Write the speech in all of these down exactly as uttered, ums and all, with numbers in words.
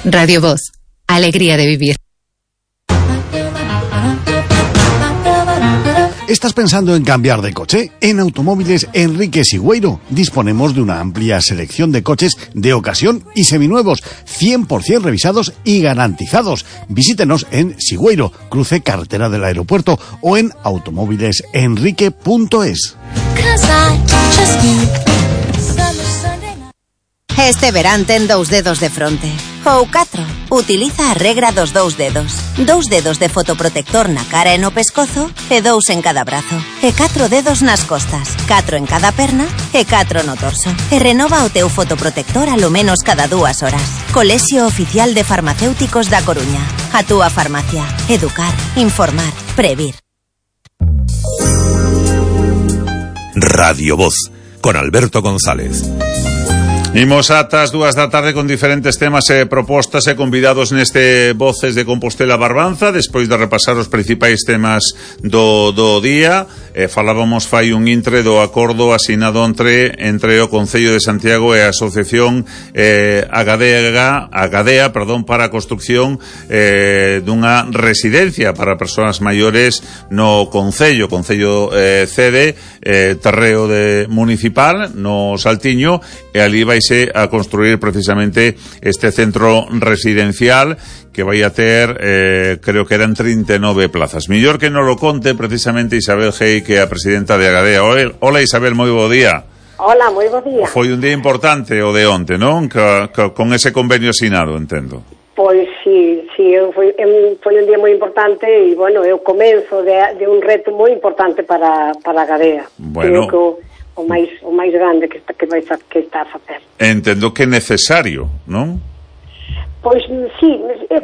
Radio Voz, alegría de vivir. ¿Estás pensando en cambiar de coche? En Automóviles Enrique Sigüeiro disponemos de una amplia selección de coches de ocasión y seminuevos, cien por ciento revisados y garantizados. Visítenos en Sigüeiro, cruce carretera del aeropuerto, o en automóviles enrique punto es. Este verán ten dous dedos de fronte. Ou catro. Utiliza a regra dos dous dedos. Dous dedos de fotoprotector na cara e no pescozo e dous en cada brazo. E catro dedos nas costas. Catro en cada perna e catro no torso. E renova o teu fotoprotector alo menos cada dúas horas. Colexio Oficial de Farmacéuticos da Coruña. A túa farmacia. Educar, informar, previr. Radio Voz, con Alberto González. Imos ata as dúas da tarde con diferentes temas e propostas e convidados neste Voces de Compostela Barbanza, despois de repasar os principais temas do, do día. Eh, falábamos fai un intre do acordo asinado entre, entre o Concello de Santiago e a Asociación eh, Agadea, Agadea perdón, para a construcción eh, dunha residencia para persoas maiores no Concello. Concello eh, cede eh, terreo de municipal no Saltiño, e ali vai a construir precisamente este centro residencial que vai a ter, eh, creo que eran trinta e nove plazas. Millor que non lo conte precisamente Isabel Gei, que é a presidenta de Agadea. Hola Isabel, moi bo día. Hola, moi bo día. Foi un día importante o de onte, non? Que, que, con ese convenio asinado, entendo. Pois sí, sí, foi, foi un día moi importante e, bueno, é o comenzo de, de un reto moi importante para, para Agadea. Bueno, creo que o, o máis o máis grande que está que vai que está a facer. Entendo que é necesario, non? Pois sí,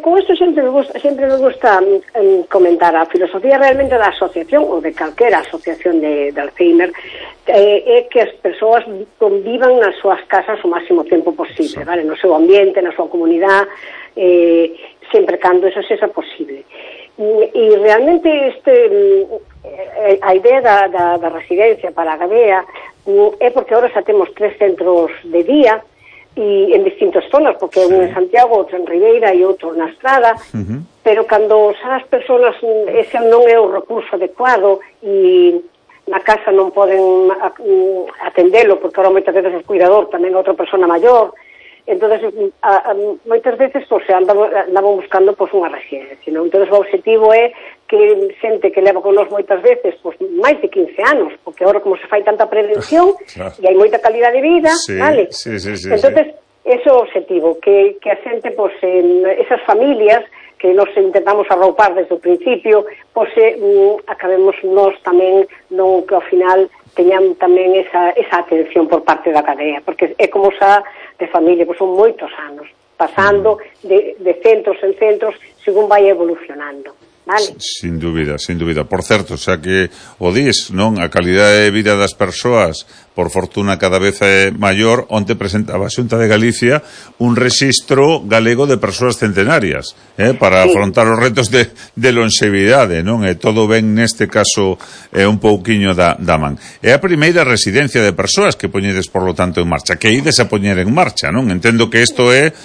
con isto sempre me gusta, sempre me gusta um, comentar a filosofía realmente da asociación ou de calquera asociación de, de Alzheimer, eh, é que as persoas convivan nas súas casas o máximo tempo posible, vale, no seu ambiente, na súa comunidade, eh, sempre cando eso sexa posible. E realmente este a idea da, da, da residencia para a Agadea é porque agora xa temos tres centros de día e en distintas zonas, porque un en Santiago, outro en Ribeira e outro na Estrada, uh-huh. Pero cando xa as persoas ese non é o recurso adecuado e na casa non poden atendelo, porque agora moitas veces o cuidador tamén é outra persona maior. Entonces, a, a, moitas veces pues, se andaban, andaban buscando pues, unha residencia, non? Entonces o objetivo é que xente que leva con nós moitas veces pues, máis de quince anos, porque agora como se fai tanta prevención claro. E hai moita calidad de vida, sí, vale? Sí, sí, sí, entonces, sí. Ese é o objetivo, que, que a xente, pues, en esas familias que nos intentamos arroupar desde o principio, pues, eh, acabemos nós tamén, non que ao final teñan tamén esa, esa atención por parte da Agadea, porque é como xa de familia, pois son moitos anos, pasando de, de centros en centros, según vai evolucionando, vale? Sin dúbida, sin dúbida. Por certo, xa que o dis, non? A calidade de vida das persoas, por fortuna, cada vez é maior. Onte presentaba a Xunta de Galicia un rexistro galego de persoas centenarias, eh, para sí. Afrontar os retos de, de longevidade, non? E todo ben neste caso é eh, un pouquiño da, da man. É a primeira residencia de persoas que poñedes, por lo tanto, en marcha, que ides a poñer en marcha, non? Entendo que isto é,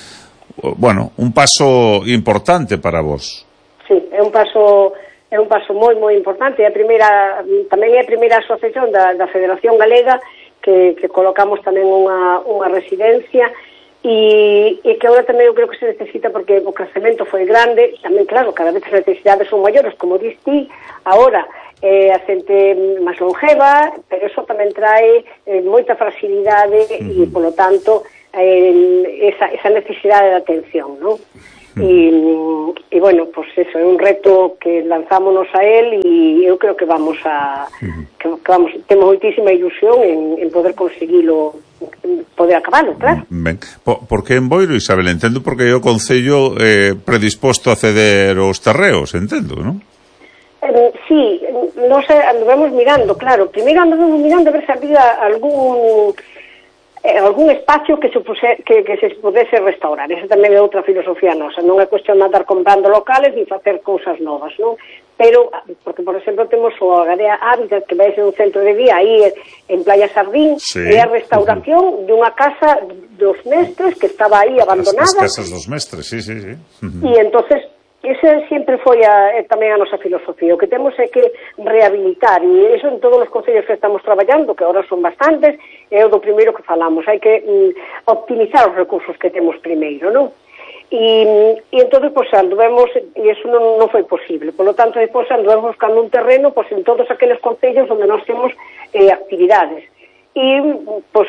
bueno, un paso importante para vos. Sí, é un paso é un paso moi moi importante. É a primeira, tamén é a primeira asociación da, da Federación Galega que, que colocamos tamén unha, unha residencia e, e que agora tamén eu creo que se necesita porque o crecemento foi grande, tamén claro, cada vez as necesidades son maiores, como dis ti, agora eh, a xente máis longeva, pero eso tamén trae eh, moita fragilidade uh-huh. E polo tanto eh, esa, esa necesidade de atención, non? E, e bueno, pues eso é un reto que lanzámonos a él e eu creo que vamos a que, que vamos, temos moitísima ilusión en, en poder conseguilo, poder acabalo, claro. Ben, por, por que en Boiro, Isabel? Entendo porque é o Concello eh, predisposto a ceder os terreos, entendo, non? Eh, sí, nos andamos mirando, claro, primeiro andamos mirando a ver se había algún eh, algún espacio que se, puse, que, que se pudese restaurar. Esa tamén é outra filosofía nosa, non é cuestión de andar comprando locales ni facer cousas novas, non? Pero, porque, por exemplo, temos o Agarea Hábitat, que vai ser un centro de día aí en Playa Sardín, sí. E a restauración uh-huh. dunha casa dos mestres que estaba aí abandonada. As, as casas dos mestres, sí, sí, sí. Uh-huh. E entonces, esa sempre foi a, tamén a nosa filosofía. O que temos é que rehabilitar, e iso en todos os concellos que estamos traballando, que agora son bastantes, é o do primeiro que falamos. Hai que mm, optimizar os recursos que temos primeiro, non? E, e entón, pois, anduvemos, e iso non, non foi posible, por lo tanto, depois anduvemos buscando un terreno, pois, en todos aqueles concellos onde nós temos eh, actividades. E, pois,